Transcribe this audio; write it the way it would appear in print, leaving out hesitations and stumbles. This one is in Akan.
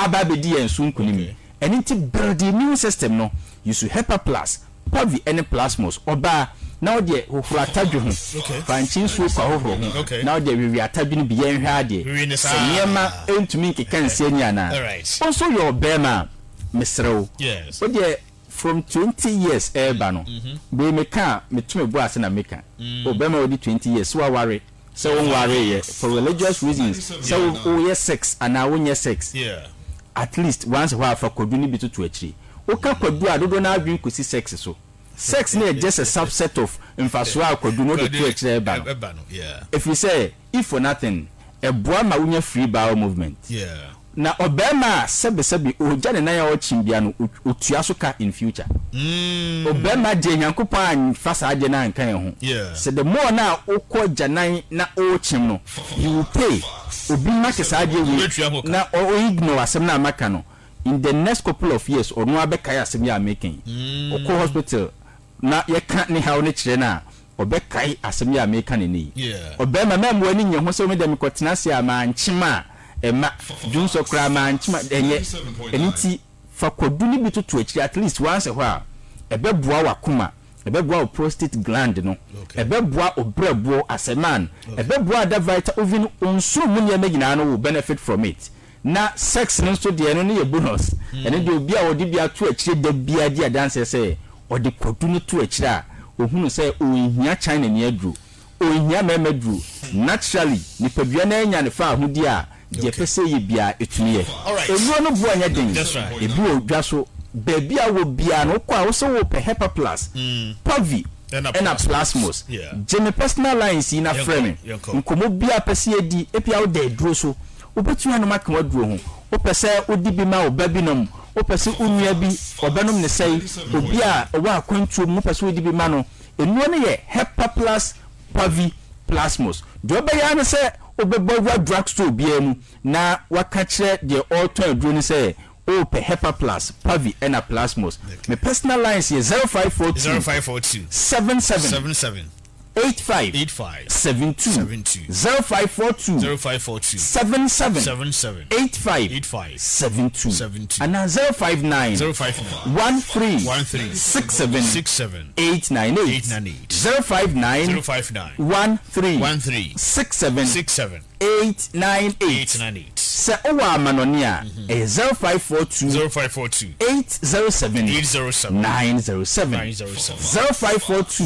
aba abɛdi yɛn so nkunim. Ɛno nti build immune system no, use Hepa Plus, Pavi ne Plasmos. Ɔbaa, na wo deɛ hohoro atadwe ho, fa nkye nsuo kɔ ahohoro ho, na wo deɛ wewe atadwe no bi, yɛnhwɛ adeɛ sɛ nneɛma ntumi nkeka nsi ani anaa. Wo nso woyɛ ɔbarima a, mesrɛ wo, wo deɛ from 20 years reba no, wei meka a, meto me bo ase na meka, ɔbarima a wadi 20 years, sɛ waware, sɛ wonwareeɛ, for religious reasons, sɛ woyɛ sex anaa wonyɛ sex, at least once a while fa kwadu no bi toto akyiri. Woka kwadu a, dodoɔ no ara adwene kɔsi sex so. Sex no yɛ just a subset of mfasoɔ a kwadu no wode to akyire a ɛba no. Ɛfiri sɛ, if for nothing, ɛboa ma wonya free bowel movement. Na ɔbarima a sɛbesɛbe ɔgya ne nan a ɔkyem bia no, ɔtua so ka in future. Ɔbarima deɛ Nyankopɔn amfa saa adeɛ no anka yɛn ho. Sɛ the more no a wokɔ agyanan na wokyem no, you will pay. Obi make saa adeɛ wei na ɔ ignore asɛm no a maka no, in the next couple of years ɔno ara bɛkae asɛm yi a meka yi. Ɔkɔ hospital na yɛka ne haw no kyerɛ no a, ɔbɛkae asɛm yi a mereka no nnɛ yi. Ɔbarima, mɛmma w'ani nnye ho sɛ me deɛ mekɔtena ase a mankyem a, ɛmma. Dwonsɔ koraa mankyem a, ɛnyɛ. Ɛno nti, fa kwadu no bi toto akyiri at least once a while. Ɛbɛboa w'akoma, ɛbɛboa wo prostate gland no, ɛbɛboa wo berɛboɔ as a man, ɛbɛboa other vital, even wo nsono mu nneɛma nyinaa no will benefit from it. Na sex no nso deɛ ɛno no yɛ bonus. Ɛno deɛ obi a ɔde bi ato akyire da biara di adanseɛ sɛ ɔde kwadu no to akyire a, ɔhunu sɛ ɔnhia China ni aduro, ɔnhia mmarima aduro. Naturally, nipadua no anya ne fawohodie a, deɛ ɛpɛ sɛ ɛyɛ biara ɛtumi yɛ. Nnuro no boɔ nyɛ den, ɛbi wɔ dwa so, baabi a wowɔ biara no wokɔ a wose wopɛ Hepa Plus, Pavi, ɛna Plasmos. Gye me personal lines yi na frɛ me. Nkɔmmɔ biara a wopɛ sɛ yɛdi, ebia woda aduro so, Wobɛtumi anom aka w'aduro ho. Wopɛ sɛ wode bi ma wo ba bi nom, wopɛ sɛ wo nua bi ɔbɛnom ne sɛe, obi a ɔwɔ akwantuo mu wopɛ sɛ wode bi ma no. Nnuro no yɛ Hepaplus Pavi Plasmos. Deɛ wobɛyɛ ara ne sɛ wobɛbɔ awura drug store biara mu na woaka kyerɛ deɛ ɔretɔn aduro no sɛ worepɛ Hepaplus, Pavi ɛna Plasmos. Me personal lines yɛ 0542 77 85 72 0542 77 85 72 anaa 059 13 67 898 059 13 67 898 Sɛ wowɔ amanɔne a, ɛyɛ 0542 807 907 0542.